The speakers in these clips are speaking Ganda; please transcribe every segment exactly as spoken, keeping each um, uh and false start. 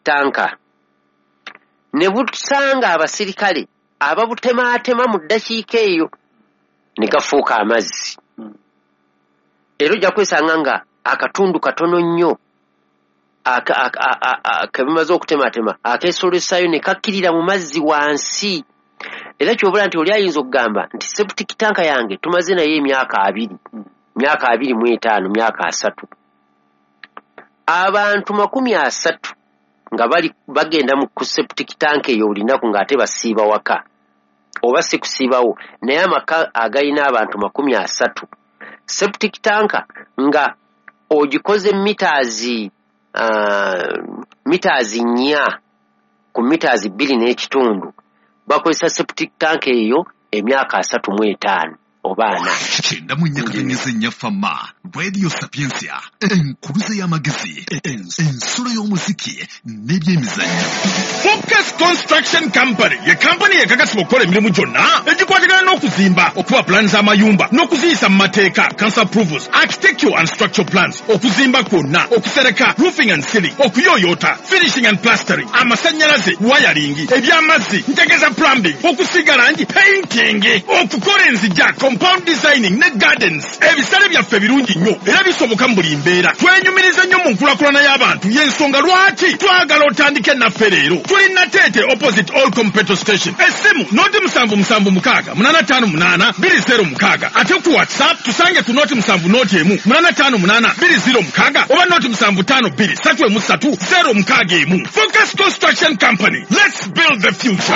tank ne busanga abasirikale ababutemaatema mu ddakiika eyo ne gafuuka amazzi. Era ojja kwesanga nga akatundu katono nnyo kebimaze okutematema akeesolesaayo ne kakkirira mu mazzi wansi. Era kyobula nti oli ayinza okugamba nti septic tank yange tumaze naye emyaka abiri, myaka abiri mu etaano, myaka asatu. Abantu makumi asatu nga bali bagenda mu ku septic tank eyo olunaku ng'ate basiiba waka oba si kusiibawo, naye amaka agalina abantu makumi asatu, septic tank nga ogikoze meters uh, meters nnya ku meters bbiri n'ekitundu, bakozesa septic tank eyo emyaka asatu mu etaano oba ana. Kyenda mu nnya katonnyeze nnya Fama Radio Sapientia, enkuluze y'amagezi, ensulo y'omuziki n'ebyemizannyo. Focus Construction Company ye kampani ekakasibwa okukola emirimu gyonna egikwatagana n'okuzimba, okuba pulaani z'amayumba n'okuziyisa mu mateeka, council approvals, architectural and structural plans, okuzimba kwonna, okusereka, roofing and ceiling, okuyooyoota, finishing and plastering, amasannyalaze, wiring, eby'amazzi, ntegeeza plumbing, okusiiga langi, painting, okukola enzija, compound designing ne gardens. Ebisale byaffe birungi nnyo era bisoboka mu buli mbeera. Twenyumiriza nnyo mu nkulakulana y'abantu, y'ensonga lwaki twagala otandike naffe leero. Tuli Nateete opposite All Petrol Station. Essimu noti musanvu musanvu mukaaga munaana ttaano munaana bbiri zero mukaaga, ate ku WhatsApp tusange ku noti musanvu noti emu munaana ttaano munaana bbiri zero mukaaga oba noti musanvu ttaano bbiri ssatu emu ssatu zero mukaaga emu. Focus Construction Company, let's build the future.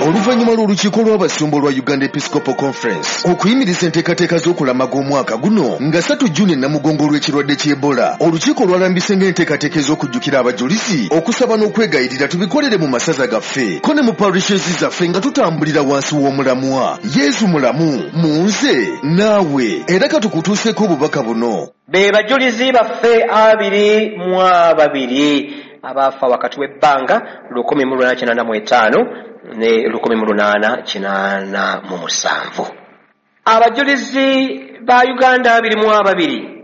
Oluvannyuma lw'olukiiko lw'abasumba olwa Uganda Episcopal Conference okuyimiriza enteekateeka z'okulamaga omwaka guno nga ssatu Juni Namugongo olw'ekirwadde ky'Ebola, olukiiko lwalambise ng'enteekateeka ez'okujjukira abajulizi, okusaba n'okwegayirira tubikolere mu masaza gaffe ko ne mu parishes zaffe nga tutambulira wansi w'omulamwa Yesu mulamu mu nze naawe. Era katukutuuseeko obubaka buno. Be bajulizi baffe abiri mu ababiri abaafa wakati w'ebbanga lukumi mu lunaana kinaana mu etaano ne lukumi mu lunaana kinaana mu musanvu. Abajulizi ba Uganda abiri mu ababiri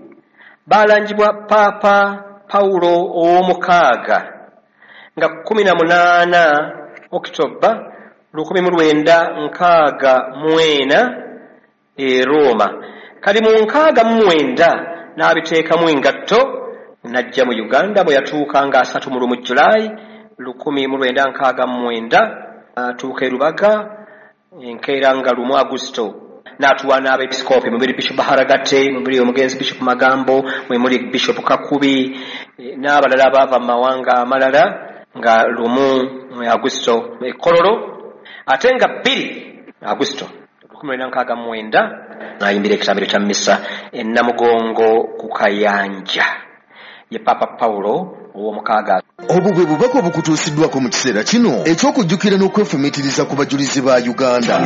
balangibwa Paapa Pawulo ow'omukaaga nga kkumi na munaana Okitoba lukumi mu lwenda nkaaga mu ena e Roma. Kali mu nkaaga mu mwenda n'abiteekamu engatto n'ajja mu Uganda bwe yatuuka nga asatu mu lumu Julayi lukumi mu lwenda nkaaga mu mwenda, atuuka e Rubaga enkeera nga lumu Agusto n'atuwa n'abeepisikoopi mubiri Bishop Haragate, mubiri omugenzi Bishop Magambo, mwe muli Bishop Kakubi n'abalala abaava mu mawanga amalala nga lumu Agusto e Kololo, ate nga bbiri Agusto lukumi lwenda nkaaga mu mwenda n'ayimbira ekitambiro kya mmisa e Namugongo ku Kayanja. Ye Papa Pawulo ow'omukaaga. Obwo bwe bubaka obukutuusiddwako mu kiseera kino eky'okujjukira n'okwefumiitiriza ku bajulizi ba Uganda.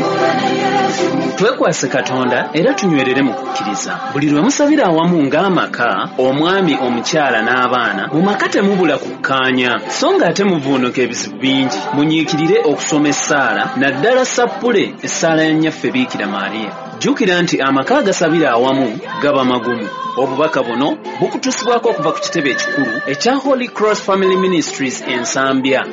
Twekwase Katonda era tunywerere mu kukkiriza. Buli lwe musabira awamu ng'amaka, omwami, omukyala n'abaana, mu maka temubula kukkaanya, so ng'ate muvuunuka ebizibu bingi. Munyiikirire okusoma essaala, naddala sappule essaala ya Nnyaffe Biikira Maria. Jjukira nti amaka agasabira awamu gaba magumu. Obubaka buno bukutuusibwako okuva ku kitebe ekikulu ekya Holy Cross Family Ministries e Nsambya.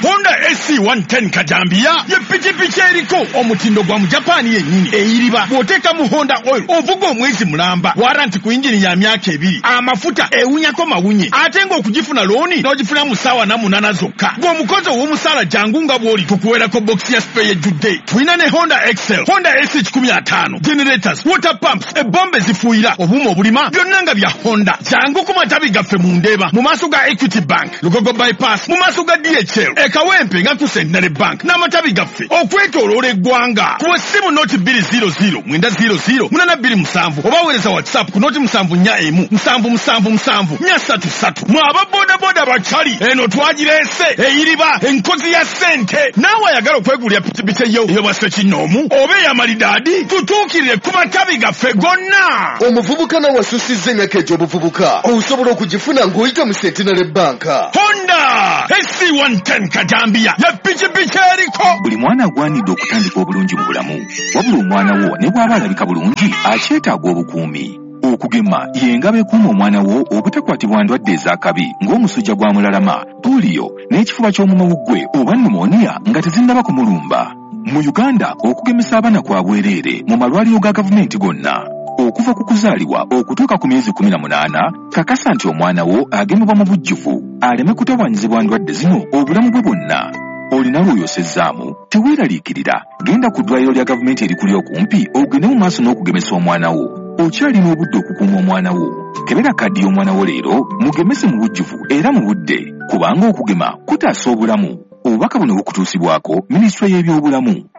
Honda A C one ten Kajambia ye pikipiki eriko omutindo gwa mu Japan yennyini eyiriba. Bw'oteekamu Honda oil ovuga omwezi mulamba, waranti ku yingini ya myaka ebiri, amafuta ewunyako mawunye, ate ng'okugifuna looni n'ogifuna mu ssaawa na munaana zokka. Gw'omukozi ow'omusaala jangu nga bw'oli tukuweerako bokisi ya spare ejjudde. Tulina ne Honda Excel, Honda A C kikumi ataano, generators, water pumps, ebombe zifuuyira, obuuma obulima byonna nga bya Honda. Jangu ku matabi gaffe mu Ndeeba, mu maaso ga Equity Bank, Lugogo Bypass, mu maaso ga D H L, e Kawempe nga ku Centenary Bank n'amatabi gaffe okwetooloola eggwanga. Kuba essimu noti bbiri zero zero mwenda zero zero munaana bbiri musanvu oba weereza WhatsApp ku noti musanvu nnya emu musanvu musanvu musanvu nnya ssatu ssatu. Mwe aba bodaboda bakyali eno twagireese eyiriba enkozi ya ssente. Naawe ayagala okwegulira pikipiki eyo ey'obwa kinoomu oba ey'amalidaadi, tutuukirire ku matabi gaffe gonna. Omuvubuka nawe asusizza emyaka egy'obuvubuka osobola okugifuna ng'oyita mu Centenary Bank. Honda Honda S C one ten Kajambiya ye pikipiki eriko. Buli mwana agwanidde okutandika obulungi mu bulamu, wabula omwana wo ne bw'aba alabika bulungi akyetaaga obukuumi. Okugema y'engabo ekuuma omwana wo obutakwatibwa ndwadde ez'akabi ng'omusujja gwa mulalama, pooliyo n'ekifuba ky'omumawuggwe oba pneumonia nga tezinnaba kumulumba. Mu Uganda okugemesa abaana kwa bwereere mu malwaliro ga gavumenti gonna. Okuva ku kuzaalibwa okutuuka ku myezi kkumi na munaana, kakasa nti omwana wo agemebwa mu bujjuvu aleme kutawaanyizibwa ndwadde zino obulamu bwe bwonna. Olina lw'oyosezzaamu, teweeraliikirira, genda ku ddwaliro lya gavumenti erikuli okumpi ogende mu maaso n'okugemesa omwana wo. Okyalina obudde okukuuma omwana wo. Kebera kaddi y'omwana wo leero, mugemese mu bujjuvu era mu budde, kubanga okugema kutaasa obulamu. Obubaka buno bukutuusibwako Minisitule y'Ebyobulamu.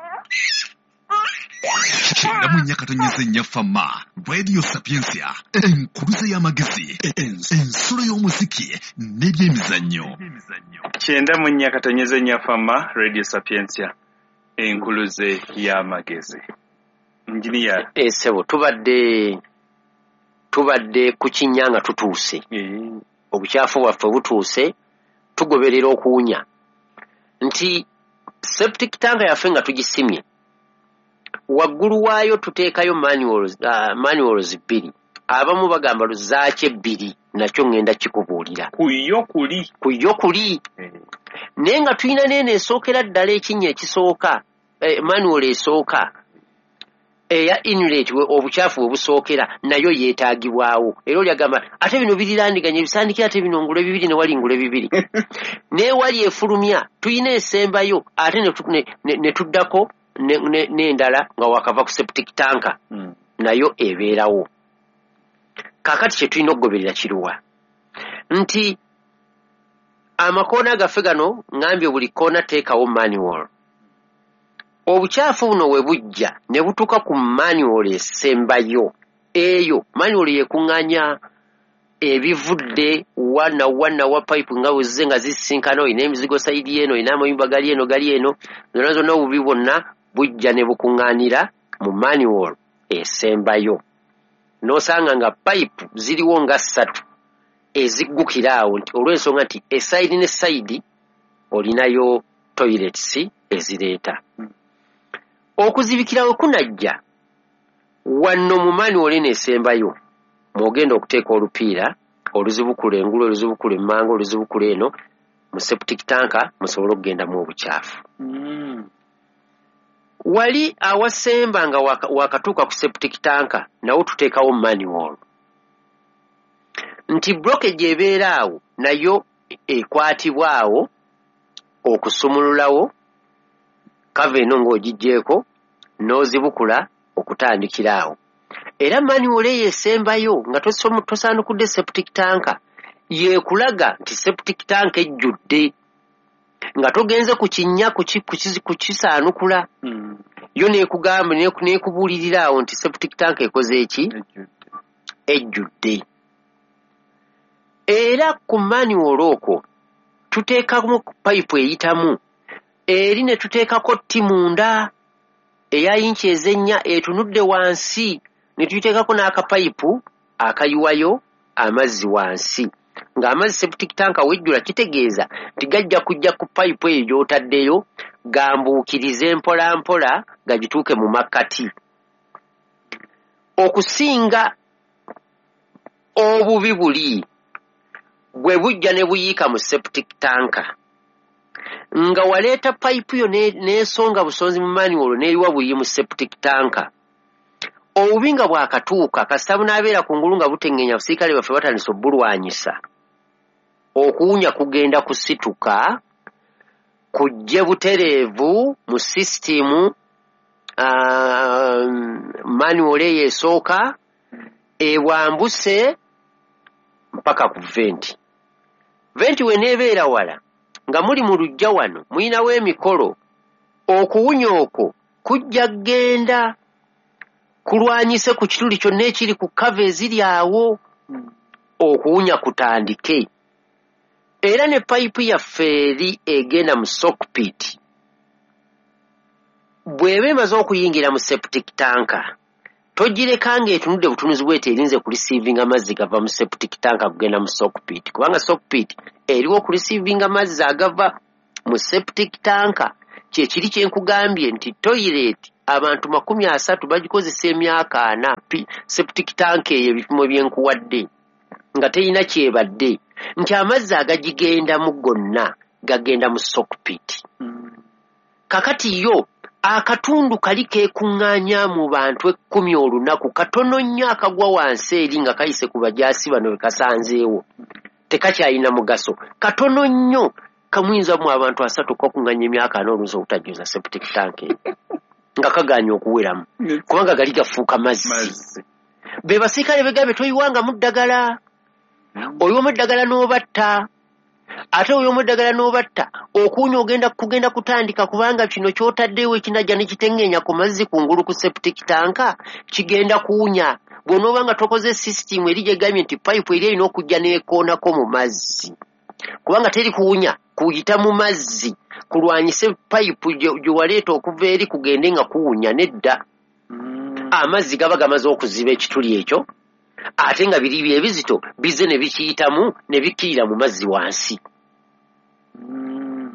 Kyenda mu nnya katonyeze nnya Fama, Radio Sapientia, enkuluze y'amagezi, ensulo y'omuziki n'ebyemizannyo. Kyenda mu nnya katonyeze nnya Fama, Radio Sapientia, enkuluze y'amagezi. Engineer. Eh, sebo, tubadde tubadde ku kinnya nga tutuuse. Obukyafu bwaffe butuuse, tugoberera okuwunya. Nti septic tank yaffe nga tugisimye, waggulu waayo tuteekayo manuals, uh, manuals bbiri. Abamu bagamba luzaaki ebbiri, nakyo ŋŋenda kikubuulira. Ku yo kuli. Ku yo kuli. Naye nga tulina n'eno esookera ddala ekinnya ekisooka, eh, manual esooka eya inlet obukyafu we busookera nayo yeetaagibwawo. Era oli agamba ate bino birirandiganye ebisandikira ate bino ngule bibiri ne wali ngule bibiri. Naye wali efulumya tulina esembayo ate ne tuddako n'endala nga wakava ku septic tank mm. nayo ebeerawo. Kaakati kye tulina okugoberera kiruwa nti amakoona gaffe gano ngambye buli koona teekawo manual. Obukyafu buno we bujja ne butuuka ku manual esembayo. Eyo manual yekuŋŋaanya ebivudde wa na wa na wa pipe nga bwezze nga zisisinkana, olina emizigo sayidi eno, olina amayumba gali eno gali eno, zonna zonna obubi bwonna bujja ne bukuŋŋaanira mu manual esembayo. N'osanga nga pipe ziriwo nga ssatu eziggukira awo nti olw'ensonga nti esayidi ne sayidi olinayo toilets ezireeta. Okuzibikira we kunajja wano mu manual eno esembayo mw'ogenda okuteeka olupiira oluzibukula engulu, oluzibukula emmanga, oluzibukula eno mu septic tank musobole okugendamu obukyafu. Mm. Wali awasemba nga wakatuuka ku septic tank nawo tuteekawo manual nti blockage ebeera awo nayo ekwatibwa awo okusumululawo kava eno ng'ogiggyeeko n'ozibukula okutandikira awo. Era manual eyo esembayo nga tosaanukudde septic tank yeekulaga nti septic tank ejjudde nga togenze ku kinnya kukisaanukula. Mm. Yo neekugamba neekubuulirira awo nti septic tank ekoze eki? Ejjudde. Era ku manual okwo tuteekamu pipe eyitamu eri ne tuteekako tti munda eya yinki ezennya etunudde wansi ne tuyiteekako n'akapayipu akayiwayo amazzi wansi. Ng'amazzi septic tank wejjula kitegeeza nti gajja kujja ku payipu eyo gy'otaddeyo gambuukirize mpola mpola gagituuke mu makkati. Okusinga obubi buli bwe bujja ne buyiika mu septic tank nga waleeta payipu yo n'esonga busonzi mu manual n'eriwa buyi mu septic tank. Obubi nga bwakatuuka kasita bunaabeera ku ngulu nga buteŋŋenya abasirikale baffe batandise obbulwanyisa. Okuwunya kugenda kusituka kujje butereevu mu sisitimu uh, manual eyo esooka ebwambuse mpaka ku venti. Venti weneebeera wala nga muli mu luggya wano mulinawo emikolo, okuwunya okwo kujja kgenda kulwanyise ku kituli kyonna ekiri ku kava eziri awo, okuwunya kutandike. Era ne payipu yaffe eri egenda mu sockpit bw'eba emaze okuyingira mu septic tank Togireka ng'etunudde butunuzi bw'eti erinze kureceivinga amazzi gava mu septic tank kugenda mu soak pit, kubanga soak pit eriwo okureceivinga amazzi agava mu septic tank. Kyekiri kye nkugambye nti toilet abantu makumi asatu bagikozesa emyaka ana, septic tank eyo ebipimo bye nkuwadde nga terina kyebadde, nti amazzi agagigendamu gonna gagenda mu soak pit. Kakati yo akatundu kali keekuŋŋaanya mu bantu ekkumi olunaku katono nnyo akagwa wansi eri nga kayise ku bajaasi bano be kasanzeewo, tekakyalina mugaso, katono nnyo kamuyinza mu abantu asatu kakuŋŋaanya emyaka ana olunza obutajjuza septic tank nga kagaanye okuweramu kubanga gali gafuuka mazzi. Be basirikale begabe toyiwangamu ddagala, oyiwamu eddagala n'obatta, ate oyiwamu eddagala n'obatta okuwunya ogenda kugenda kutandika, kubanga kino ky'otaddewo ekinajja ne kiteŋŋeenya ku mazzi kungulu ku septic tank kigenda kuwunya. Bw'onooba nga tokoze sisitimu eri gyegambye nti payipu eri erina okujja n'ekoonako mu mazzi, kubanga teri kuwunya kuyita mu mazzi kulwanyise payipu gye waleeta okuva eri kugende nga kuwunya, nedda. Amazzi gaba gamaze okuziba ekituli ekyo, ate nga biri ebizito bizze ne bikiyitamu ne bikkirira mu mazzi wansi.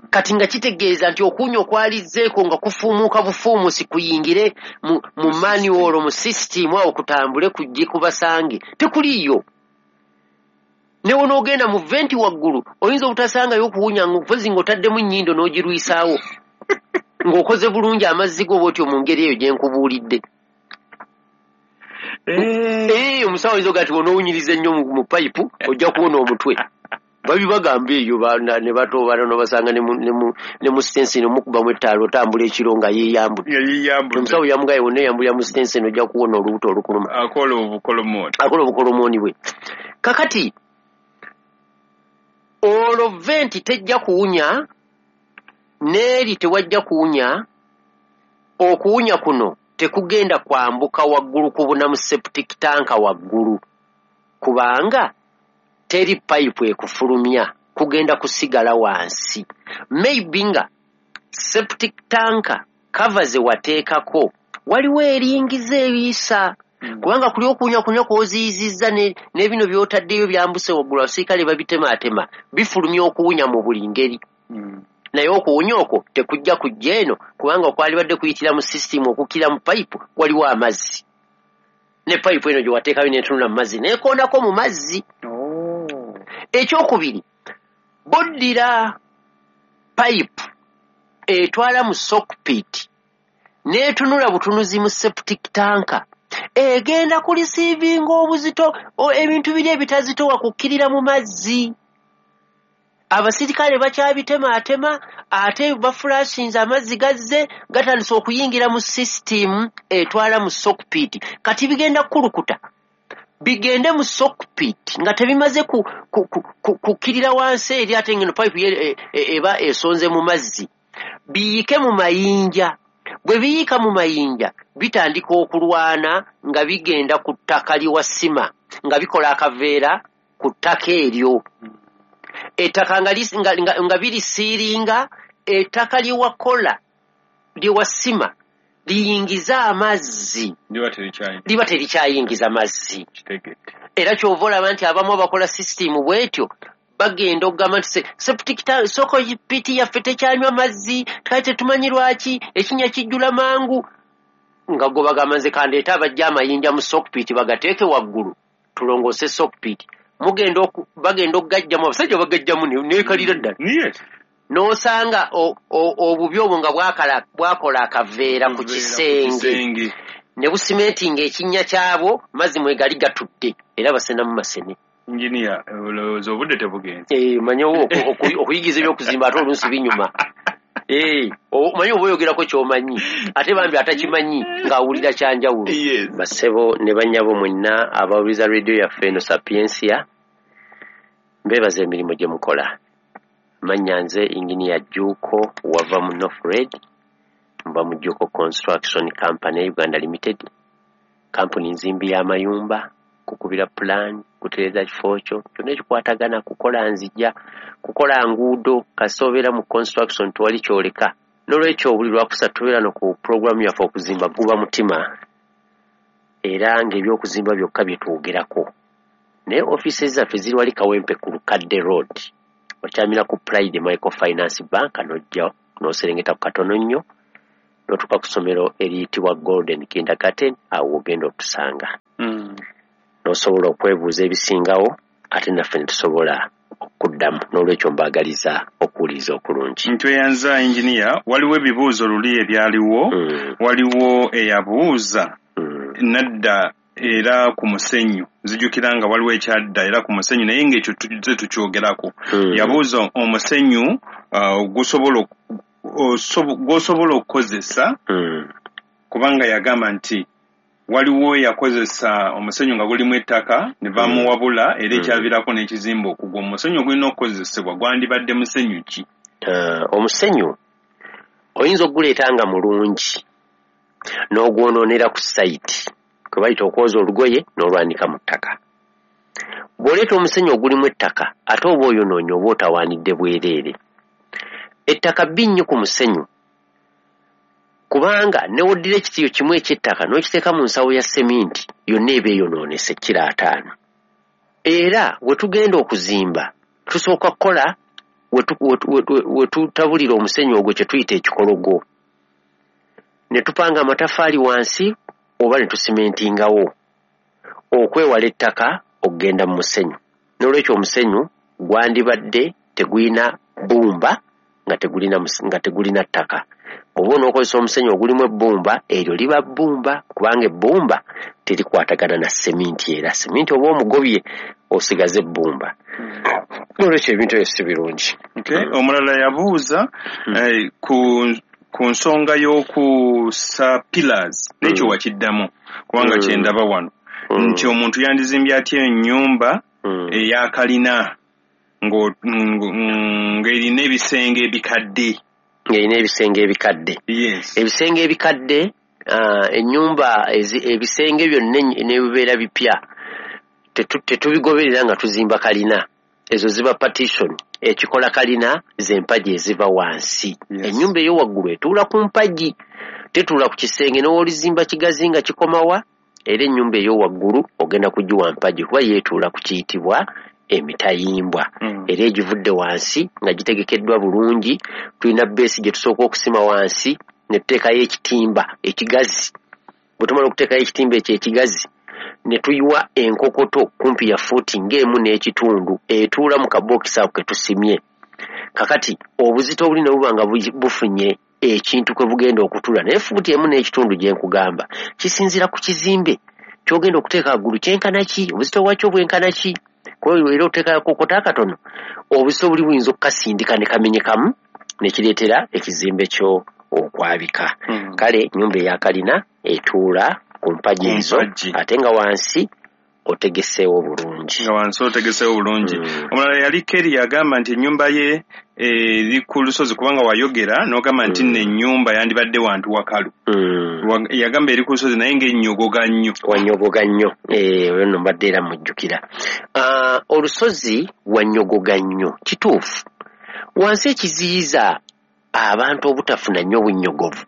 Kati nga kitegeeza nti okuwunya okwalizzeeko nga kufuumuuka bufuumusi kuyingire mu, mu manual mu sisitimu awo kutambule kujje kubasange, tekuliiyo. Ne wonoogenda mu venti waggulu oyinza obutasangayo okuwunya mpozi ng'otaddemu ennyindo n'ogirwisaawo ng'okoze bulungi amazzi go bw'otyo mu ngeri eyo gye nkubuulidde. Eh, omusawo oyinza ogaa nti bw'onoowunyiriza ennyo mu payipu ojja kuwona omutwe. Babibagamba eyo ne batoobana n'obasanga ne mu sitenseni omukubamu ettaala otambula ekiro nga yeeyambudde. Omusawo yamugaye wonna eyambulira mu sitenseni ojja kuwona olubuto olukuluma. Akola obukolomooni. Akola obukolomooni bwe. Kakati olwo venti tejja kuwunya, n'eri tewajja kuwunya, okuwunya kuno tekugenda kwambuka waggulu kubuna mu septic tank waggulu, kubanga teri payipu ekufulumya, kugenda kusigala wansi. Maybe nga septic tank cover ze wateekako waliwo eringiza ebiyisa, kubanga kuli okuwunya kunywa kw'oziyizizza ne bino by'otaddeyo byambuse waggulu, abasirikale babitemaatema bifulumya okuwunya mu buli ngeri. Naye okuwunya okwo tekujja kujja eno, kubanga okwalibadde kuyitira mu sisitimu okukkira mu payipu waliwo amazzi, ne payipu eno gye wateekayo n'etunula mu mazzi n'ekoonako mu mazzi. Ekyokubiri, boddira payipu etwala mu soak pit n'etunula butunuzi mu septic tank, egenda kuliceivinga obuzito ebintu biri ebitazitowa kukkirira mu mazzi. Abasirikale bakyabitemaatema ate bafulashinze amazzi gazze gatandise okuyingira mu sisitimu etwala mu soak pit. Kati bigenda kukulukuta bigende mu soak pit nga tebimaze kukkirira wansi eri, ate ngeno payipu eba esonze mu mazzi, biyike mu mayinja. Bwe biyika mu mayinja bitandika okulwana nga bigenda ku ttaka liwasima, nga bikola akaveera ku ttaka eryo. Ettaka nga, nga, nga, nga birisiiringa, ettaka lyewakola lyewasima liyingiza amazzi, liba terikyayingiza mazzi. Era ky'ova olaba nti abamu abakola sisitimu bw'etyo bagenda okugamba nti septic tank soak pit yaffe tekyanywa mazzi, kale tetumanyi lwaki ekinnya kijjula mangu, nga go bagamba nze kandeete abajja amayinja mu soak pit bagateeke waggulu tulongoose soak pit. Mugenda bagenda okugajjamu, abasajja bagajjamu neekalira ddala n'osanga obubi obwo nga bwakola akaveera ku kisenge ne busimentinga ekinnya kyabwo, mazzi mwe gali gatudde era basenamu masene. Engineer, olowooza obudde tebugenze? Eh, manyi okuyigiza ebyokuzimba ate oluusi binyuma. Eh, omanyi oba oyogerako ky'omanyi, ate bambi atakimanyi ng'awulira kyanjawulo. Bassebo ne bannyabo mwenna abawuliriza rediyo yaffe eno Sapiensia, mbeebaza emirimu gye mukola. Mannya nze Engineer Jjuuko wava mu North Red, nva mu Jjuuko Construction Company Uganda Limited, kampuni nzimbi y'amayumba, kukubira pulaani, kutereeza kifo kyo kyonna ekikwatagana, kukola nzija, kukola nguudo, kasita obeera mu construction tewali kyoleka. N'olwekyo buli lwakusatu tubeera no ku pulogulaamu yaffe okuzimba guba mutima. Era ng'ebyokuzimba byokka bye twogerako. Naye ofiisi zaffe ziri wali Kawempe ku Lukadde Road. Okyamira ku Pride Microfinance Bank n'ojja n'oserengeta ku katono nnyo n'otuuka ku ssomero eriyitibwa Golden Kindergarten, awo ogenda otusanga. Mm. N'osobola okwebuuza ebisingawo ate naffe ne tusobola okuddamu. N'olwekyo mbaagaliza okuwuliriza okulungi. Ntweyanza engineer, waliwo ebibuuzo luli ebyaliwo, Mm. waliwo eyabuuza Mm. nadda era ku musenyu. Nzijukira nga waliwo ekyadda era ku musenyu, naye ng'ekyo tuzze tukyogerako. Mm. Yabuuza omusenyu, uh, gusobola osobo-, gw'osobola okukozesa, Mm. kubanga yagamba nti waliwo yakozesa omusenyu nga gulimu ettaka ne bamuwabula, era Mm. ekyaviirako n'ekizimbe okugwa. Omusenyu ogulina okukozesebwa gwandibadde musenyu ki? Uh, omusenyu oyinza okuguleeta nga mulungi n'ogwonoonera ku sayiti, kwe bayita okwoza olugoye n'olwanika mu ttaka. Bw'oleeta omusenyu ogulimu ettaka ate oba oyonoonye oba otawaanidde bwereere. Ettaka bbi nnyo ku musenyu, kubanga ne w'oddira ekitiyo kimu eky'ettaka n'okiteeka mu nsawo ya seminti yonna eba eyonoonese kiro ataano. Era we tugenda okuzimba tusooka kukola we tu-, we tu-, we tu-, we tutabulira omusenyu ogwo kye tuyita ekikologo, ne tupanga amataffaali wansi oba ne tusimentingawo okwewala ettaka okugenda mu musenyu. N'olwekyo omusenyu gwandibadde tegulina bbumba nga tegulina mus-, nga tegulina ttaka. Bw'oba onookozesa omusenyu ogulimu ebbumba, eryo liba bbumba, kubanga ebbumba terikwatagana na seminti. Era seminti oba omugobye osigaze ebbumba. N'olwekyo ebintu ebyo si birungi. Okay. Omulala yabuuza, Hmm. eh, ku, ku nsonga y'okusa pillars, n'ekyo Hmm. wakiddamu kubanga Hmm. kye ndaba wano. Hmm. Nti omuntu yandizimbye atya ennyumba Hmm. eya kalina ng'o-, ng-, ng'erina ebisenge ebikadde. Ng'erina ebisenge ebikadde. Yes. Ebisenge ebikadde, ah, ennyumba ezi-, ebisenge byonna enny-, ne bibeera bipya. Tetu-, tetubigoberera nga tuzimba kalina. Ezo ziba partition. Ekikola kalina ze mpagi eziva wansi. Yes. Ennyumba eyo waggulu etuula ku mpagi, tetuula ku kisenge. N'owolizimba kigazi nga kikomawa, era ennyumba eyo waggulu ogenda kugiwa mpagi kuba yeetuula ku kiyitibwa emitayimbwa. Mm. Era egivudde wansi nga gitegekeddwa bulungi. Tulina beesi gye tusooka okusima wansi ne tuteekayo ekitimba ekigazi. Bwe tumala okuteekayo ekitimba ekyo ekigazi, ne tuyiwa enkokoto kumpi ya fuuti ng'emu n'ekitundu etuula mu kabookisi ako ke tusimye. Kakati obuzito obuli ne buba nga bu-, bufunye ekintu kwe bugenda okutuula, naye fuuti emu n'ekitundu gye nkugamba kisinziira ku kizimbe ky'ogenda okuteeka waggulu kyenkana ki, obuzito bwakyo bwenkana ki. Kuba era oteekayo akokota akatono, obuzito buli buyinza okukasindika ne kamenyekamu ne kireetera ekizimbe kyo okwabika. Hmm. Kale ennyumba eya kalina etuula ku mpagi Ku ezo, mpagi. ate nga wansi otegeseewo bulungi. Nga wansi otegeseewo bulungi. Mm. Omulala yali Kerry yagamba nti ennyumba ye eri ku lusozi, kubanga wayogera n'ogamba nti Mm. nno ennyumba yandibadde wantu wakalu. Mm. Wa-, yagamba eri ku lusozi naye ng'ennyogoga nnyo. Wanyogoga nnyo. Eh, oyo nno mbadde era mujjukira. Ah, olusozi wanyogoga nnyo, kituufu. Wansi ekiziyiza abantu obutafuna nnyo bunnyogovu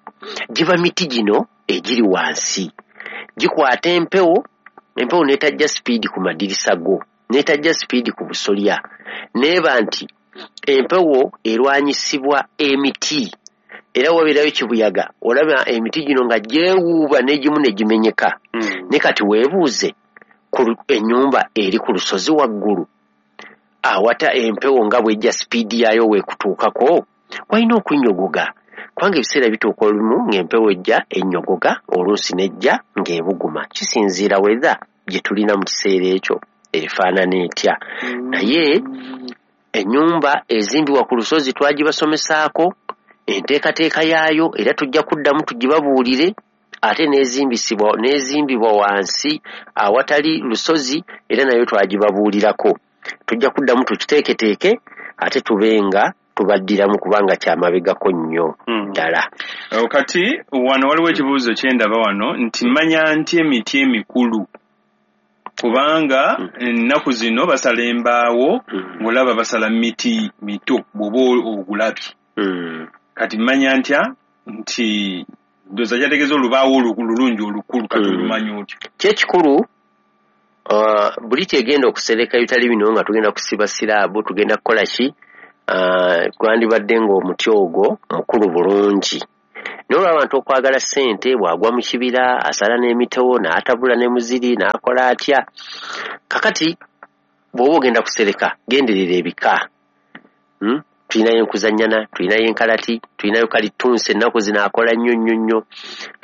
giba miti gino egiri wansi, gikwata empewo, empewo n'etajja sipiidi ku madirisa go, n'etajja sipiidi ku busolya, n'eba nti empewo erwanyisibwa emiti. Era wabeerayo kibuyaga, olaba emiti gino nga gyewuuba n'egimu ne gimenyeka. Mm. Ne kati weebuuze ku lu-, ennyumba eri ku lusozi waggulu awata empewo nga bw'ejja sipiidi yaayo weekutuukako, walina okunnyogoga, kubanga ebiseera bituuka olumu ng'empewo ejja ennyogoga, oluusi n'ejja ng'ebuguma. Kisinziira weather gye tulina mu kiseera ekyo efaanana etya. Naye ennyumba ezimbibwa ku lusozi twagibasomesaako enteekateeka yaayo, era tujja kuddamu tugibabuulire, ate n'ezimbisibwa, n'ezimbibwa wansi awatali lusozi era nayo twagibabuulirako. Tujja kuddamu tukiteeketeeke ate tube nga tubaddiramu kubanga kyamabegako nnyo Hmm. ddala. Oh, kati wano waliwo ekibuuzo kye ndaba wano nti manya nti emiti emikulu, kubanga Hmm. ennaku zino basala embaawo, Hmm. ng'olaba basala miti mito bw'oba ogulabye. Hmm. Kati manya ntya nti Ndowooza kyategeeza olubaawo olulungi olukulu, kati Mm. olumanyi otyo? Kyekikulu, uh, buli kyegenda okusereka ebitali bino nga tugenda kusiba siraabu, tugenda kukola ki, uh, gwandibadde ng'omuti ogwo mukulu bulungi. Naye olw'abantu okwagala ssente, bw'agwa mu kibira asala n'emitewo n'atabula ne muziri n'akola atya. Kakati bw'oba ogenda kusereka, genderera ebika. Hmm? Tulinayo enkuzannyana, tulinayo enkalati, tulinayo kalitunsi, ennaku zino akola nnyo nnyo nnyo.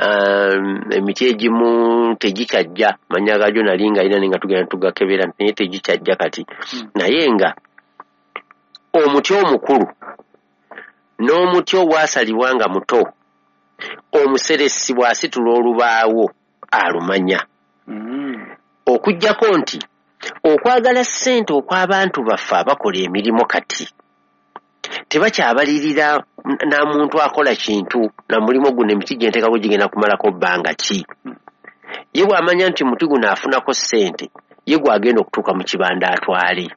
Um, emiti egimu tegikyajja, mannya gaagyo nali nga alina naye nga tugenda tugakebera naye tegikyajja kati. Naye nga omuti omukulu n'omuti ogwasalibwa nga muto, omuseresi bw'asitula olubaawo alumanya. Okuggyako nti okwagala ssente okw'abantu baffe abakola emirimu kati tebakyabalirira na muntu akola kintu na mulimu guno, emiti gye nteekako gigenda kumalako bbanga ki. Ye bw'amanya nti muti guno afunako ssente, ye gw'agenda okutuuka mu kibanda atwale.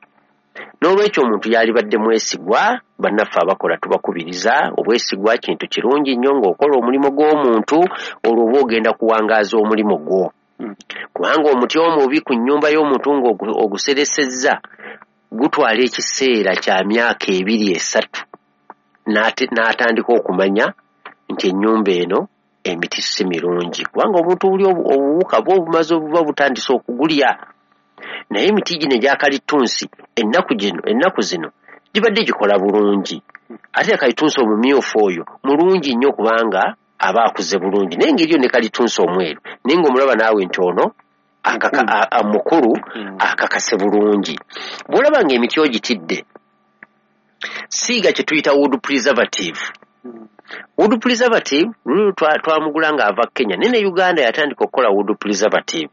N'olwekyo omuntu yalibadde mwesigwa. Bannaffe abakola tubakubiriza, obwesigwa kintu kirungi nnyo ng'okola omulimu gw'omuntu, olwo oba ogenda kuwangaaza omulimu gwo. Kubanga omuti omubi ku nnyumba y'omuntu ng'oguseresezza gutwala ekiseera kya myaka ebiri esatu n'atandika okumanya nti ennyumba eno emiti si mirungi, kubanga obuntu buli obuwuka bwo obumaze obuba butandise okugulya. Naye emiti gino egya kalitunsi ennaku gino ennaku zino gibadde gikola bulungi, ate kalitunsi omumyufu oyo mulungi nnyo kubanga aba akuze bulungi, naye ngeri yo ne kalitunsi omweru naye ng'omulaba naawe nti ono mukulu akakase bulungi. Bw'olaba ng'emiti ogitidde, siiga kye tuyita wood preservative. Wood preservative luli twamugula ng'ava Kenya, naye ne Uganda yatandika okukola wood preservative.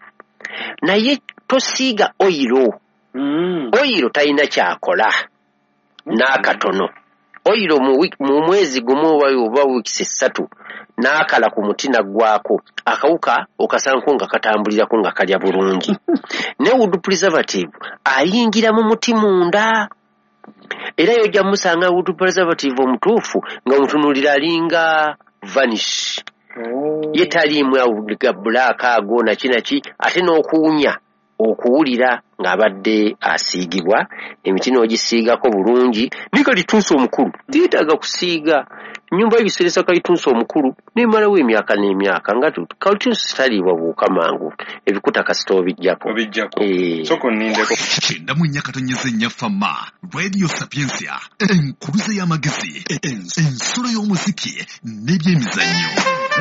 Naye tosiiga oyiro, oyiro talina kyakola n'akatono. Oyiro mu mwezi gumu oba wiikisi ssatu n'akala ku muti n'aggwako, akawuka okasanko nga katambulirako nga kalya bulungi. Ne wood preservative ayingira mu muti munda, era yojja musanga wood preservative omutuufu nga omutunuulira alinga vanish. Ye taliimu ga bulaaka ago naki naki, ate n'okuwunya okuwulira ng'abadde asiigibwa. Emiti n'ogisiigako bulungi. Naye kalitunsi omukulu teyeetaaga kusiiga. Ennyumba y'ebiseresa kalitunsi omukulu n'emalawo emyaka n'emyaka, nga kalitunsi taliibwa buwuka mangu, ebikuta kasita obiggyako. Obiggyako. Sooka onnindeko. Kyenda mu nnya katonyeze nnya Fama, Radio Sapientia, enkuluze y'amagezi, ensulo y'omuziki n'ebyemizannyo.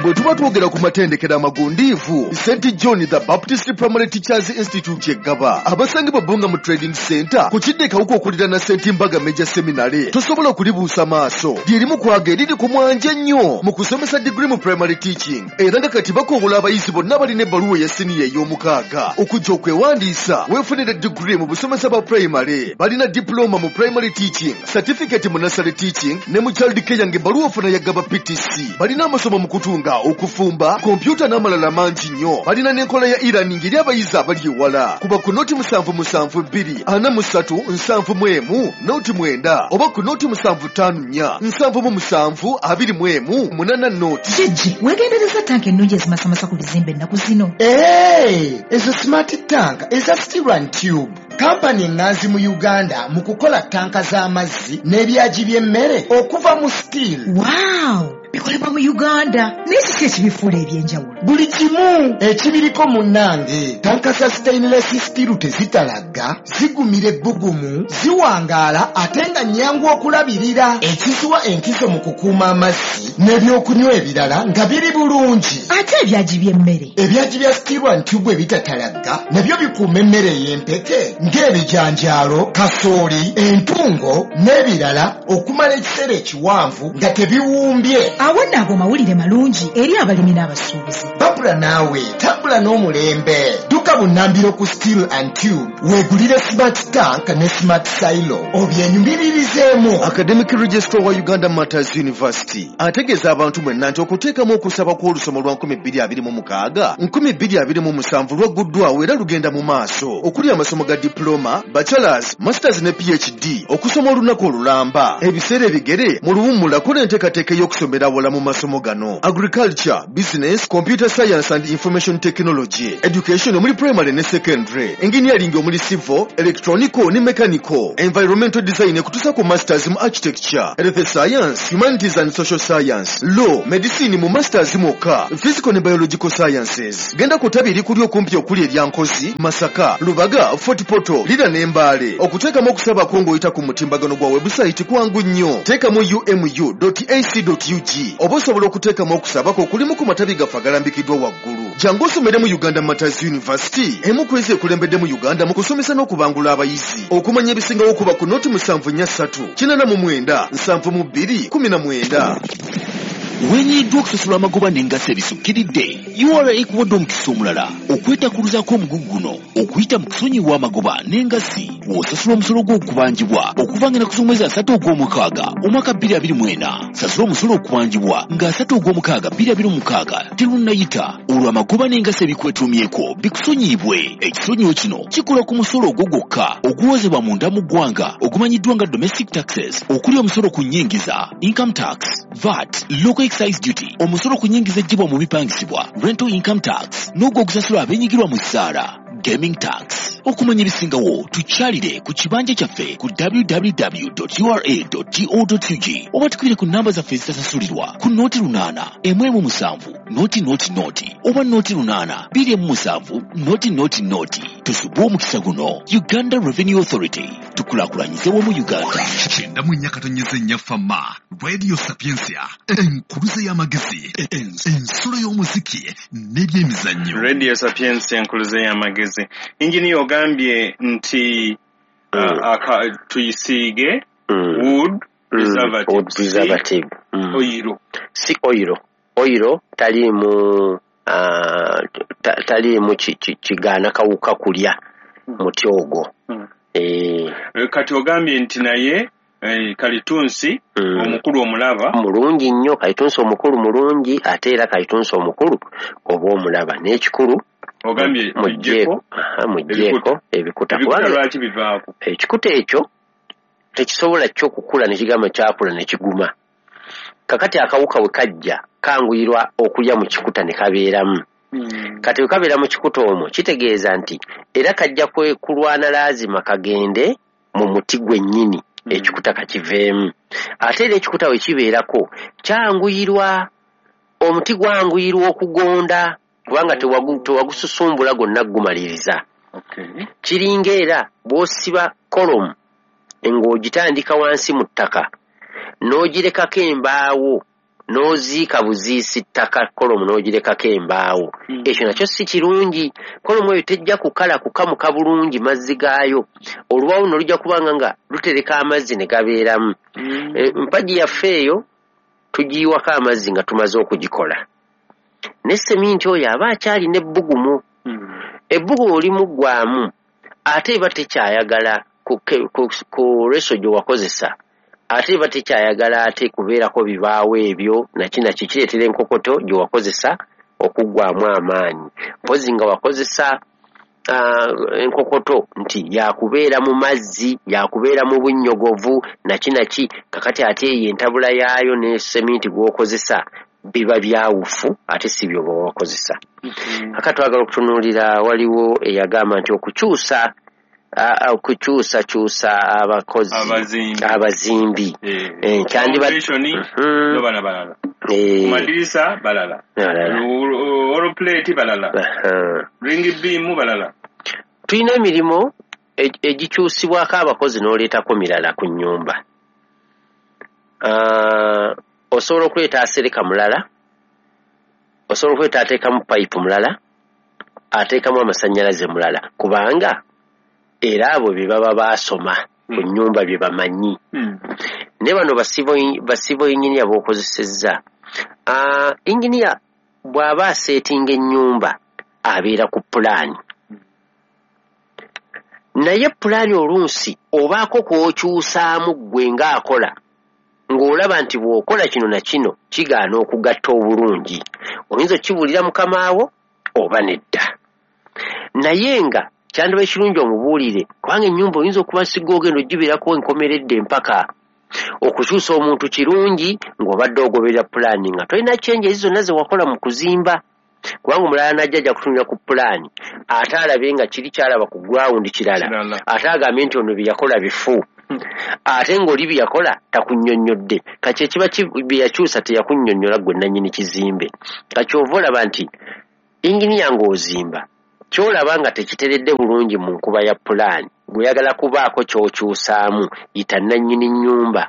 Bwe tuba twogera ku matendekero amagundiivu, Saint John the Baptist Primary Teachers Institute Eggaba, abasangibwa Bbunga mu Trading Center ku kidde Kawuka okuliraana Saint Mbaga Major Seminary, tosobola kulibuusa maaso. Lyerimu kwaga eriri ku mwanje ennyo mu kusomesa degree mu primary teaching, era nga kati bakowola abayizi bonna balina ebbaluwa eya siniya ey'omukaaga okujja okwewandiisa weefunire degree mu busomesa bwa primary. Balina diploma mu primary teaching, certificate mu nursery teaching ne mu child care ng'ebbaluwa ofuna ya Gaba P T C. Balina amasomo mu kutunga, okufumba, kompyuta n'amalala mangi nnyo. Balina n'enkola ya e-learning eri abayizi abali ewala. Kuba ku noti musanvu musanvu bbiri ana mu ssatu nsanvu mu emu noti mwenda oba ku noti musanvu ttaano nnya nsanvu mu musanvu abiri mu emu munana noti. Jjajja, weegendereza tanka ennungi ezimasamasa ku bizimbe ennaku zino. Ee, ezo smart tank eza steel and tube. Kampani eŋŋanzi mu Uganda mu kukola tanka z'amazzi n'ebyagi by'emmere okuva mu steel. Wow! Bikolebwa mu Uganda, naye kiki ekibifuula ebyenjawulo? Buli kimu ekibiriko munnange. Tanka za stainless steel tezitalagga, zigumira ebbugumu, ziwangaala ate nga nnyangu okulabirira. Ekiziwa enkizo mu kukuuma amazzi n'ebyokunywa ebirala nga biri bulungi. Ate ebyagi by'emmere? Ebyagi bya steel and tube ebitatalagga nabyo bikuuma emmere ey'empeke ng'ebijanjaalo, kasooli, entungo n'ebirala okumala ekiseera ekiwanvu nga tebiwumbye. Awo nno ago mawulire malungi eri abalimi n'abasuubuzi. Babula naawe tambula n'omulembe. Dduka bunnambiro ku Steel and Tube, weegulire smart tank ne smart silo obyenyumiririzeemu. Academic Registrar wa Uganda Martyrs University ategeeza abantu mwenna nti okuteekamu okusaba kw'olusoma lwa nkumi bbiri abiri mu mukaaga nkumi bbiri abiri mu musanvu lwagguddwawo era lugenda mu maaso, okuli amasomo ga diploma, bachelors, masters ne P H D, okusoma olunaku olulamba, ebiseera ebigere, mu luwummula kola enteekateeka ey'okusomera awala mu masomo gano: agriculture, business, computer science and information technology, education omuli primary ne secondary, engineering omuli civil, electronical ne mechanical, environmental design ekutuusa ku masters mu architecture, health science, humanities and social science, law, medicine mu masters mwokka, physical ne biological sciences. Genda ku ttabi erikuli okumpi okuli erya Nkozi, Masaka, Lubaga, Fort Portal, Lira ne Mbale. Okuteekamu okusabako ng'oyita ku mutimbagano gwa webusayiti kwangu nnyo, teekamu umu dot ac dot ug oba osobola okuteekamu okusabako okulimu ku matabi gaffe agalambikiddwa waggulu. Jangu osomere mu Uganda Martyrs University, emu ku ezo ekulembedde mu Uganda mu kusomesa n'okubangula abayizi. Okumanya ebisingawo kuba ku noti musanvu nnya ssatu kinana mu mwenda nsanvu mu bbiri kumi na mwenda. Wenyiddwa okusasula amagoba n'engassi ebisukkiridde, U R A ekuwadde omukisa omulala okwetakuluzaako omugugu guno okuyita mu kusonyiwa amagoba n'engassi w'osasula omusolo gw'okubanjibwa okuva nga ennaku z'omwezi asatu ogw'omukaaga omwaka bbiri abiri mu ena. Sasula omusolo okubanjibwa nga asatu ogw'omukaaga bbiri abiri mu mukaaga terunnayita, olwo amagoba n'engassi ebikwetuumyeko bikusonyiibwe. Ekisonyiwo kino kikola ku musolo ogwo gwokka oguwozebwa munda mu ggwanga ogumanyiddwa nga domestic taxes, okuli omusolo ku nnyingiza, income tax, VAT, local excise duty, omusolo ku nnyingiza eggyibwa mu bipangisibwa, rental income tax, n'ogwo ogusasula abeenyigirwa mu ssaala, gaming tax. Okumanya ebisingawo tukyalire ku kibanja kyaffe ku W W W ura go ug oba tukubire ku namba zaffe ezitasasulirwa ku nooti lunaana emu emu musanvu nooti nooti nooti oba nooti lunaana bbiri emu musanvu nooti nooti nooti. Tusubwe omukisa guno. Uganda Revenue Authority, tukulaakulanyize wamu Uganda. Kyenda mu nnya katonyeze nnya Fama Radio Sapiensia, enkuluze y'amagezi, ensulo y'omuziki n'ebyemizannyo. Radio Sapiensia, enkuluze y'amagezi. Inginiya, ogambye nti uh, aka- tuyisiige Mm. wood Mm, preservative, wood preservative. Mm. Oyiro. Si oyiro, oyiro taliimu ah, ta- taliimu ki- ki- kigaana kawuka kulya muti ogwo. Mm. Eh, Eh, kati ogambye nti naye eh, kalitunsi mm. omukulu omulaba. Mulungi nnyo kalitunsi omukulu, mulungi ate era kalitunsi omukulu oba omulaba n'ekikulu. Ogambye muggyeko tuggyeko aha, muggyeko ebikuta. ebikuta. Kubanga Lwaki bivaako? Ekikuta ekyo tekisobola kyo okukula nekigamba kyakula nekiguma. Kakati akawuka bwe kajja kanguyirwa okulya mu kikuta ne kabeeramu. Kati bwe kabeera mu kikuta omwo, kitegeeza nti era kajja kwe- kulwana laazima kagende mu muti gwennyini, ekikuta kakiveemu. Ate era ekikuta bwe kibeerako kyanguyirwa, omuti gwanguyirwa okugonda kubanga tewagu- tewagususumbula gwonna gumaliriza. Okay. Kiringa era bw'osiba column ng'ogitandika wansi mu ttaka n'ogirekako embaawo, n'oziika buziisi ttaka, column n'ogirekako embaawo, ekyo nakyo si kirungi. Column eyo tejja kukala kukamuka bulungi mazzi gaayo, olubaawo nno lujja kubanga nga lutereka amazzi ne gabeeramu. E, mpagi yaffe eyo tugiyiwako amazzi nga tumaze okugikola, ne seminti oyo aba akyalina ebbugumu. Ebbugumu limuggwamu ate eba tekyayagala ku, ku, ku reso gye wakozesa, ate eba tekyayagala ate kubeerako bibaawo ebyo naki naki kireetera enkokoto gye wakozesa okuggwamu amaanyi. Mpozi nga wakozesa uh, enkokoto nti yakubeera mu mazzi, yakubeera mu bunnyogovu naki naki, kakati ate eyo entabula yaayo ne seminti gw'okozesa biba byawufu, ate si byo bwe wakozesa. Aka twagala okutunuulira, waliwo eyagamba nti okukyusa a- okukyusakyusa abakozi, Abazimbi. Abazimbi. Eh, Eh, kyandiba- foundation, Mhm. no bana balala, Eh, ku madirisa balala, balala. Wall plate balala, Aha. ring beam balala. Tulina emirimu e- egikyusibwako abakozi n'oleetako mirala ku nnyumba. Ah, osobola okuleeta asereka mulala, osobola okuleeta ateekamu payipu mulala, ateekamu amasannyalaze mulala, kubanga era abo bye baba baasoma ku Mm. nnyumba bye bamanyi. Naye bano ba civil engineer b'okozesezza, Ah, engineer bw'aba aseetinga ennyumba abeera ku pulaani. Naye pulaani oluusi obaako kw'okyusaamu ggwe ng'akola, ng'olaba nti bw'okola kino na kino kigaana okugatta obulungi. Oyinza okkibuulira mukamaawo oba nedda. Naye nga kyandiba ekirungi omubuulire, kubanga ennyumba oyinza okuba sigga ogenda ogibeerako enkomeredde empaka. Okukyusa omuntu kirungi ng'obadde ogoberera pulaani nga tolina changes zonna ze wakola mu kuzimba, kubanga omulala n'ajja ajja kutunula ku pulaani ate alabe nga kiri kyalaba ku ground kirala, ate agambe nti ono bye yakola bifu, ate ng'oli bye yakola takunnyonnyodde. Kati ekiba bye yakyusa teyakunnyonnyola ggwe nannyini kizimbe. Kati ova olaba nti inginiya ng'ozimba ky'olaba nga tekiteredde bulungi mu nkuba ya pulaani, gw'oyagala kubaako ky'okyusaamu, yita nannyini nnyumba.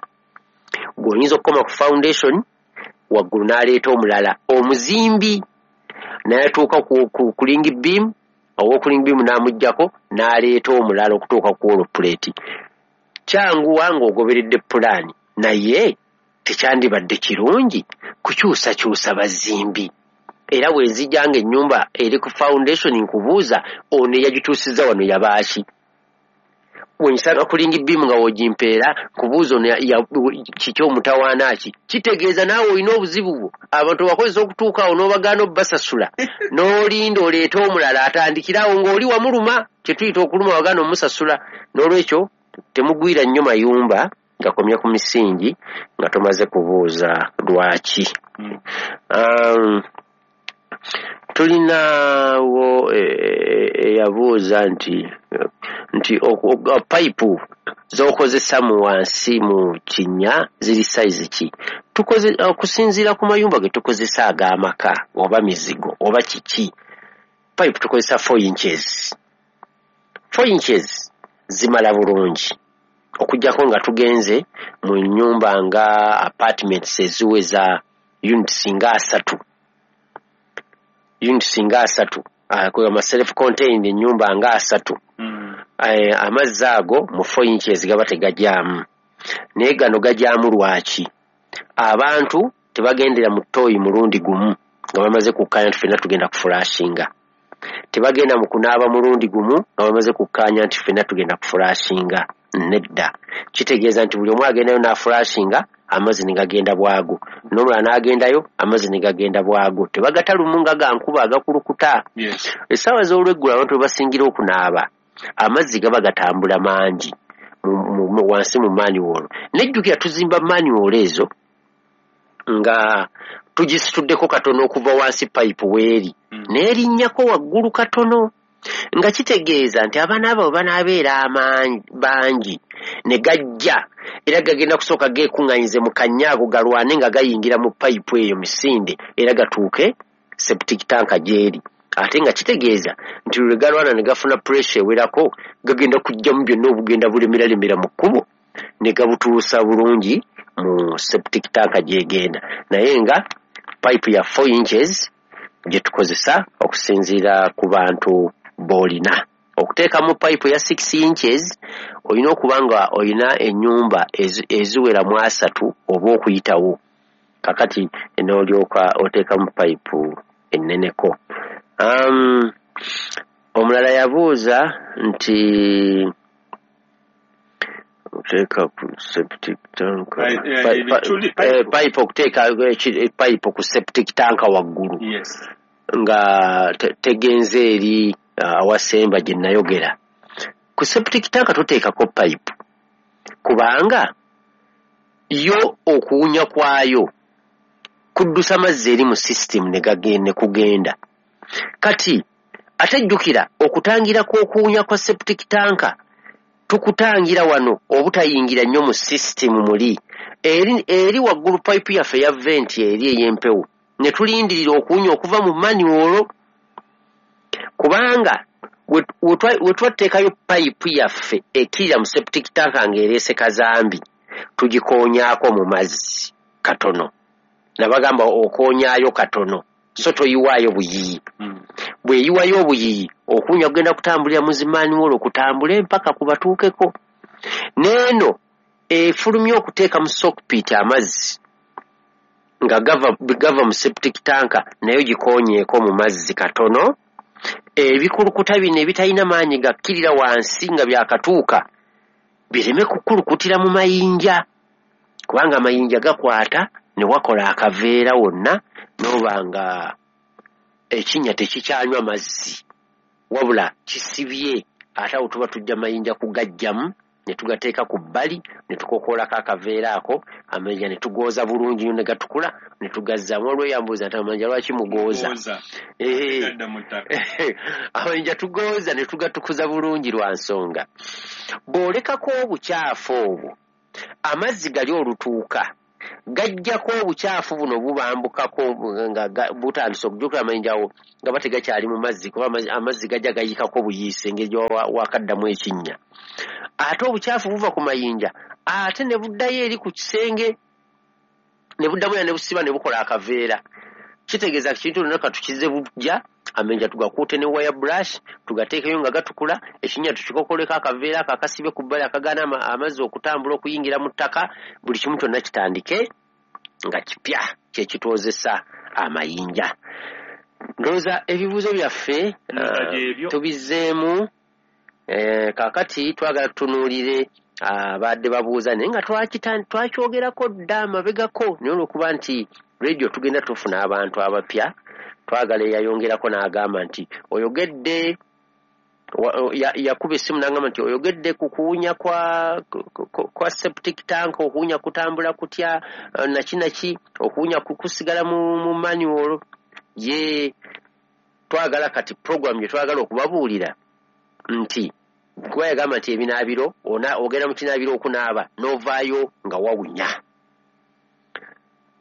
Gw'oyinza okukoma ku foundation waggulu n'aleeta omulala omuzimbi n'atuuka ku, ku, ku ring beam, ow'oku ring beam n'amuggyako n'aleeta omulala okutuuka ku wall plate. Kyanguwa ng'ogoberedde pulaani, naye tekyandibadde kirungi kukyusakyusa bazimbi. Era bwe nzija ng'ennyumba eri ku foundation nkubuuza ono eyagituusizza wano yabaaki? Bwe ngisanga ku ring beam nga w'ogimpeera nkubuuza ono kiki omutawaana ki? Kitegeeza naawe olina obuzibu bwo. Abantu bakozesa okutuuka awo n'obagaana obbasasula, n'olinda oleete omulala atandikire awo ng'oli wamuluma, kye tuyita okuluma wagaana omusasula. N'olwekyo temugwira nnyo mayumba gakomye ku misingi nga tomaze kubuuza lwaki. Um, tulinawo eyabuuza nti nti payipu z'okozesa mu wansi mu kinnya ziri sayizi ki? Tukoze okusinziira ku mayumba ge tukozesa ag'amaka oba mizigo oba kiki, payipu tukozesa four inches. Four inches zimala bulungi okuggyako nga tugenze mu nnyumba nga apartments eziweza units nga asatu. Units nga asatu, ama self contained ennyumba nga asatu. Mm. Amazzi ago mu four inches gaba tegajaamu. Naye gano gajaamu lwaki? Abantu tebagendera mu ttooyi mulundi gumu nga bamaze kukkaanya nti ffenna tugenda kufulashinga. Tebagenda mu kunaaba mulundi gumu nga bamaze kukkaanya nti ffenna tugenda kufulashinga. Nedda. Kitegeeza nti buli omu agendayo n'afulashinga amazzi ne gagenda bwago, n'omulala n'agendayo amazzi ne gagenda bwago. Tebagata lumu nga ga nkuba agakulukuta. Yes. Essaawa z'olweggulo abantu we basingira okunaaba amazzi gaba gatambula mangi wansi mu manhole. Nejjukira tuzimba manhole ezo nga tugisituddeko katono okuva wansi payipu weeri, mm. n'erinnyako waggulu katono, nga kitegeeza nti abaana abo banaabeera bangi ne gajja era gagenda kusooka geekuŋŋanyize mu kannya ago galwane nga gayingira mu payipu eyo misinde era gatuuke septic tank gy'eri. Ate nga kitegeeza nti lwe galwana ne gafuna pressure ewerako gagenda kujjamu byonna obugenda bulemeralemera mu kkubo ne gabutuusa bulungi mu septic tank gy'egenda. Naye nga payipu ya four inches gye tukozesa okusinziira ku bantu b'olina. Okuteekamu payipu ya six inches olina okuba nga olina ennyumba eziwera mu asatu oba okuyitawo. Kakati n'olyoka oteekamu payipu enneneko. Um, omulala yabuuza nti okuteeka ku septic tank payipu okuteeka payipu ku septic tank waggulu. Yes. Nga tegenze eri awasemba gye nayogera. Ku septic tank toteekako payipu kubanga yo okuwunya kwayo kuddusa mazzi eri mu system ne gagenda kugenda. Kati ate jjukira okutangira kw'okuwunya kwa septic tank tukutangira wano obutayingira nnyo mu system muli eri, eri waggulu payipu yaffe ya venti eri ey'empewo ne tulindirira okuwunya okuva mu manhole, kubanga we twateekayo payipu yaffe ekkirira mu septic tank ng'ereese kazambi tugikoonyaako mu mazzi katono. Nabagamba okoonyaayo katono so toyiwaayo buyiyi. Mm. Bw'eyiwayo obuyiyi okuwunya kugenda kutambulira mu zimanhole okutambule mpaka ku batuukeko. N'eno efulumya okuteeka mu sockpit amazzi nga gava, gava mu septic tank nayo gikoonyeeko mu mazzi katono Ebikulukuta bino ebitalina maanyi gakkirira wansi nga byakatuuka bireme kukulukutira mu mayinja, kubanga amayinja gakwata ne wakola akaveera wonna n'oba nga ekinnya tekikyanywa mazzi wabula kisibye. Ate awo tuba tujja mayinja kugajjamu ne tugateeka ku bbali ne tukokoolako akaveera ako, amayinja ne tugooza bulungi nnyo ne gatukula ne tugazzaamu. Waliwo eyambuuza nti amayinja lwaki mugooza? Amayinja tugooza ne tugatukuza bulungi lwa nsonga. Bw'olekako obukyafu obwo, amazzi gali olutuuka gajjako obukyafu buno bubambukako nga butandise okujjukira amayinja awo nga bategakyali mu mazzi, kuba amazzi gajja gayikako buyiise engeri wakaddamu ekinnya. Ate obukyafu buva ku mayinja ate ne buddayo eri ku kisenge ne buddamu era ne busiba ne bukola akaveera. Kitegeeza kintu lonna katukize bujja, amayinja tugakuute ne wire brush tugateekeyo nga gatukula, ekinnya tukikokoleko akaveera ako akasibye ku bbali akagaana amazzi okutambula okuyingira mu ttaka, buli kimu kyonna kitandike nga kipya kyekitwozesa amayinja. Ndowooza ebibuuzo byaffe tubizzeemu. Kaakati twagala tutunuulire abadde babuuza, naye nga twakyogerako dda amabegako, naye olw'okuba nti radio tugenda tufuna abantu abapya, twagala eyayongerako n'agamba nti oyogedde, yakuba essimu n'agamba nti oyogedde ku kuwunya kwa, kwa septic tank, okuwunya kutambula kutya naki naki, okuwunya kusigala mu, mu manual. Ye twagala kati program gye twagala okubabuulira nti kuba yagamba nti ebinaabiro ogenda mu kinaabiro okunaaba n'ovaayo nga wawunya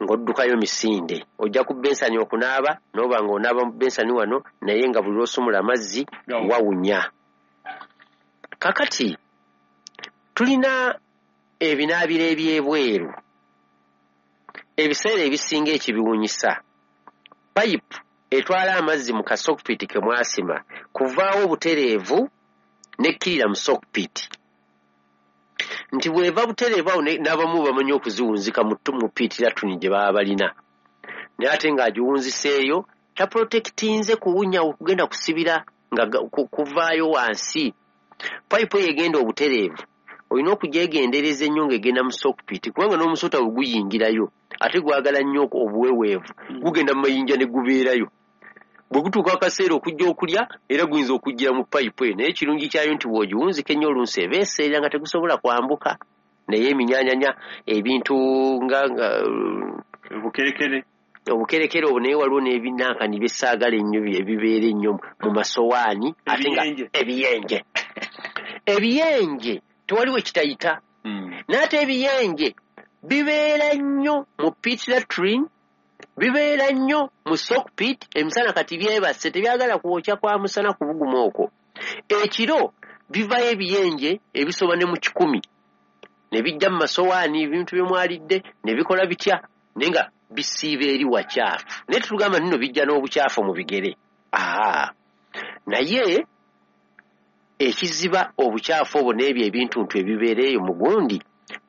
ng'oddukayo misinde, ojja ku bensani okunaaba n'oba ng'onaaba mu bensani wano naye nga buli lw'osumula amazzi wawunya. Kakati tulina ebinaabiro eby'ebweru, ebiseera ebisinga ekibiwunyisa payipu etwala amazzi mu kasokpit ke mwasima kuvaawo butereevu nekkirira mu sockpit, nti bw'eva butereevu awo n'abamu bamanyi okuziwunzika mu pit latuni gye baba balina, naye ate ng'agiwunziseeyo taprotektinze kuwunya okugenda kusibira nga kuvaayo wansi. Payipu eyo egenda obutereevu olina okugyegendereza ennyo ng'egenda mu sockpit, kubanga n'omusota bwe guyingirayo ate gwagala nnyo obuweweevu, gugenda mu mayinja ne gubeerayo. Bwe gutuuka akaseera okujja okulya era guyinza okujjira mu payipu eyo, naye ekirungi kyayo nti bw'ogiwunzika ennyo olunsi eba eseerera nga tegusobola kwambuka, naye eminyanyanya ebintu nga obukerekere obukerekere obwo, naye waliwo n'ebinankani byesaagala ennyo ebibeera ennyo mu masowaani ate nga ebiyenje ebiyenje tewaliwo ekitayita, naye ate ebiyenje bibeera nnyo mu pit latrine, bibeera nnyo mu sockpit. Emisana kati byebase tebyagala kwokya kwa musana kubuguma okwo. Ekiro bivayo ebiyenje ebisoba ne mu kikumi ne bijja mu masowaani ebintu bye mwalidde ne bikola bitya, naye nga bisiiba eri wakyafu. Naye tetugamba nno bijja n'obukyafu mu bigere, aa naye ekiziba obukyafu obwo n'ebyo ebintuntu ebibeera eyo mu gundi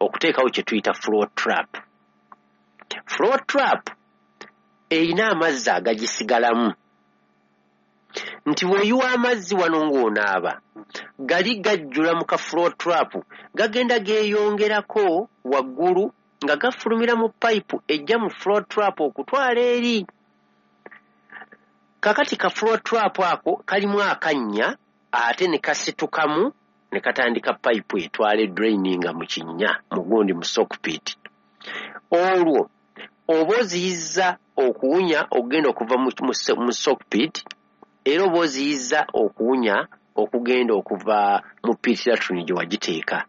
okuteekawo kye tuyita floor trap. Floor trap erina amazzi agagisigalamu, nti bw'oyiwa amazzi wano ng'onaaba gali gajjula mu ka floor trap, gagenda geeyongerako waggulu nga gafulumira mu payipu ejja mu floor trap okutwala eri. Kakati ka floor trap ako kalimu akannya ate ne kasitukamu ne katandika payipu etwala edraininga mu kinnya mu gundi mu sockpit. Olwo oba oziyizza okuwunya okugenda okuva mu sockpit, era oba oziyizza okuwunya okugenda okuva mu pit latrine gye wagiteeka.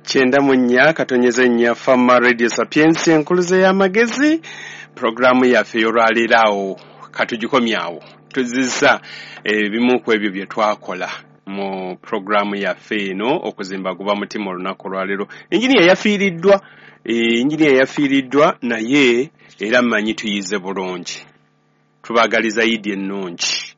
Kyenda mu nnya katonyeze nnya Fama Radio Sapientia enkuluze y'amagezi, pulogulaamu yaffe ey'olwaleero awo katugikomyawo. Tuzizza ebimu ku ebyo bye twakola mu pulogulaamu yaffe eno okuzimba guba mutima olunaku olwaleero. Engineer yafiiriddwa, engineer yafiiriddwa naye era mmanyi tuyize bulungi. Tubaagaliza Idi ennungi.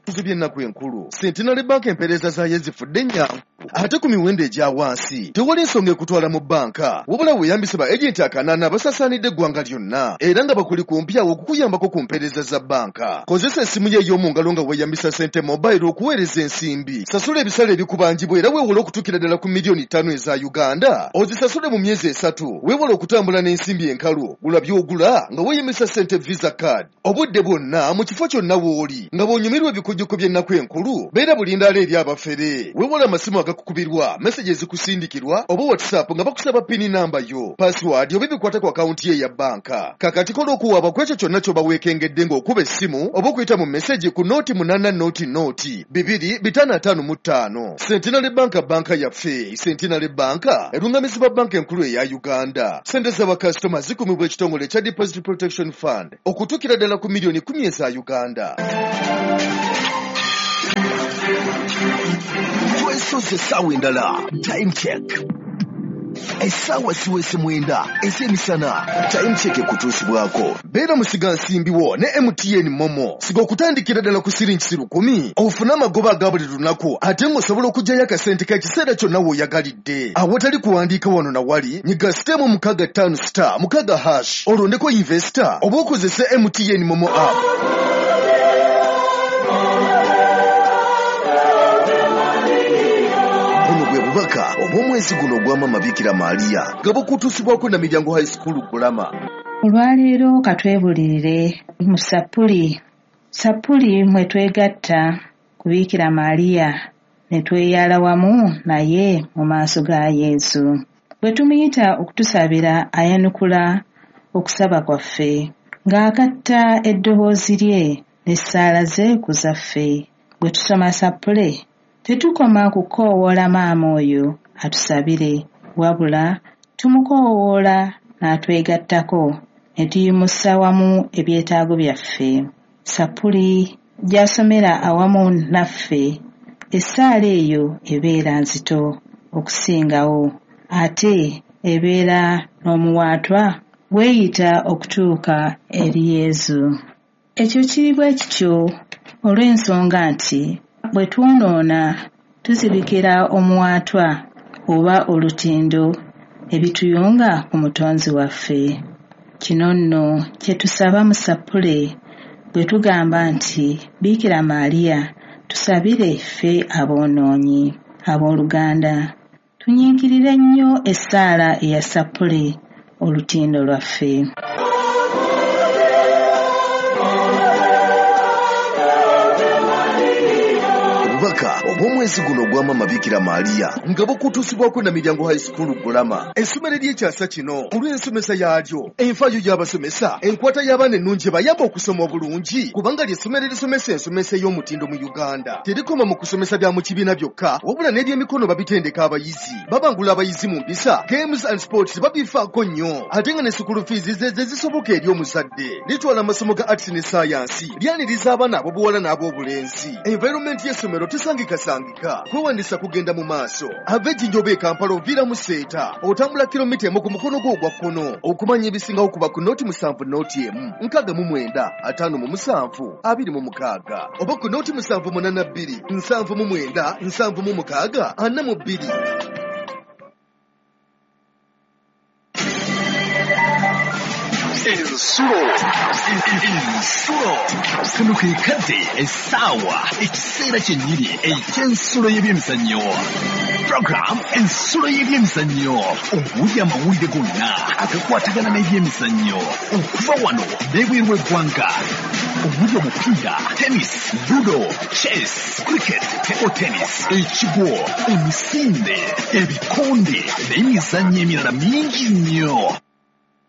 Ebijjukizo by'ennaku enkulu. Centenary Bank empeereza zaayo ezifudde ennyangu ate ku miwendo egya wansi. Tewali nsonga ekutwala mu bbanka, wabula weeyambise ba agenti akanaana abasaasaanidde eggwanga lyonna era nga bakuli kumpi awo okukuyambako ku mpeereza za bbanka. Kozesa essimu yo ey'omu ngalo nga weeyambisa Sente Mobile okuweereza ensimbi. Sasula ebisale ebikubanjibwa era weewole okutuukira ddala ku miliyoni ttaano eza Uganda. Ozisasule mu myezi esatu. Weewale okutambula n'ensimbi enkalu. Gula by'ogula nga weeyambisa Sente Visa Card. Obudde bwonna mu kifo kyonna w'oli nga bw'onyumirwa ebikujjuko by'ennaku enkulu, beera bulindaala eri abafere. Weewale amasimu agakukubirwa, message ezikusindikirwa oba WhatsApp nga bakusaba pini namba yo, password oba ebikwata ku akawunti ye ya bbanka. Kakati kola okuwaaba ku ekyo kyonna ky'oba weekengedde ng'okuba essimu oba okuyita mu message ku nooti munaana nooti nooti bibiri bitaano ataano mu ttaano. Centenary Bank banka yaffe. Centenary Bank erungamizibwa banka enkulu eya Uganda. Sente z'abakasitoma zikumibwa ekitongole ekya Deposit Protection Fund okutuukira ddala ku miliyoni kumi eza Uganda. Twesoze essaawa endala. Time check. Essaawa ziweze mwenda ez'emisana. Time check ekutuusibwako. Beera musigansimbi wo ne M T N Momo. Siga okutandikira ddala ku siringi lukumi ofune amagoba aga buli lunaku ate ng'osobola okuggyayo akasente k'ekiseera kyonna w'oyagalidde. Awatali kuwandiika wano na wali, nyiga sitemu mukaaga ttaano star mukaaga hash olondeko investor oba okozese M T N Momo app. Bubaka obw'omwezi guno ogwa Maama Bikira Maria nga bukutuusibwako na Miryango High School Gulama. Olwaleero katwebulirire mu Sappuli. Sappuli mwe twegatta ku Bikira Maria ne tweyala wamu naye mu maaso ga Yesu. Bwe tumuyita okutusabira ayanukula okusaba kwaffe ng'agatta eddoboozi lye n'essaala ze ku zaffe. Bwe tusoma Sappule tetukoma kukoowoola maama oyo atusabire, wabula tumukoowoola n'atwegattako ne tuyimusa wamu ebyetaago byaffe. Sappuli gy'asomera awamu naffe, essaala eyo ebeera nzito okusingawo, ate ebeera n'omuwaatwa weeyita okutuuka eri Yesu. Ekyo kiri bwe kityo olw'ensonga nti bwe twonoona tuzibikira omuwaatwa oba olutindo ebituyunga ku Mutonzi waffe. Kino nno kye tusaba mu Sappule bwe tugamba nti Bikira Maria tusabire ffe aboonoonyi. Abooluganda, tunyiikirire nnyo essaala eya Sappule olutindo lwaffe. Obubaka obw'omwezi guno ogwa Maama Bikira Maria nga bukutuusibwako na Miryango High School Gulama. Essomero ery'ekyasa kino olw'ensomesa yaalyo, enfaayo y'abasomesa, enkwata y'abaana ennungi ebayamba okusoma obulungi kubanga ly'essomero erisomesa ensomesa ey'omutindo mu Uganda. Terikoma mu kusomesa bya mu kibiina byokka, wabula n'ebyemikono babitendeka abayizi. Babangula abayizi mu mpisa, games and sports babifaako nnyo, ate nga ne school fees ze ze zisoboka eri omuzadde. Litwala amasomo ga arts ne science, lyaniriza abaana ab'obuwala n'ab'obulenzi. Environment y'essomero tesangikasangika. Kwewandiisa kugenda mu maaso. Ava Ejjinja oba e Kampala oviira mu Seeta, otambula kilomita emu ku mukono gwo ogwa kkono. Okumanya ebisingawo kuba ku nooti musanvu nooti emu nkaaga mu mwenda ataano mu musanvu abiri mu mukaaga oba ku nooti musanvu munaana bbiri nsanvu mu mwenda nsanvu mu mukaaga ana mu bbiri. Ensulo ensulo kano ke kadde essaawa ekiseera kyennyini eky'ensulo y'ebyemizannyo. Program ensulo y'ebyemizannyo omuli amawulire gonna agakwatagana n'ebyemizannyo okuva wano n'ebweru w'eggwanga omuli omupiira, tennis, ludo, chess, cricket, table tennis, ekigwo, emisinde, ebikonde n'emizannyo emirala mingi nnyo.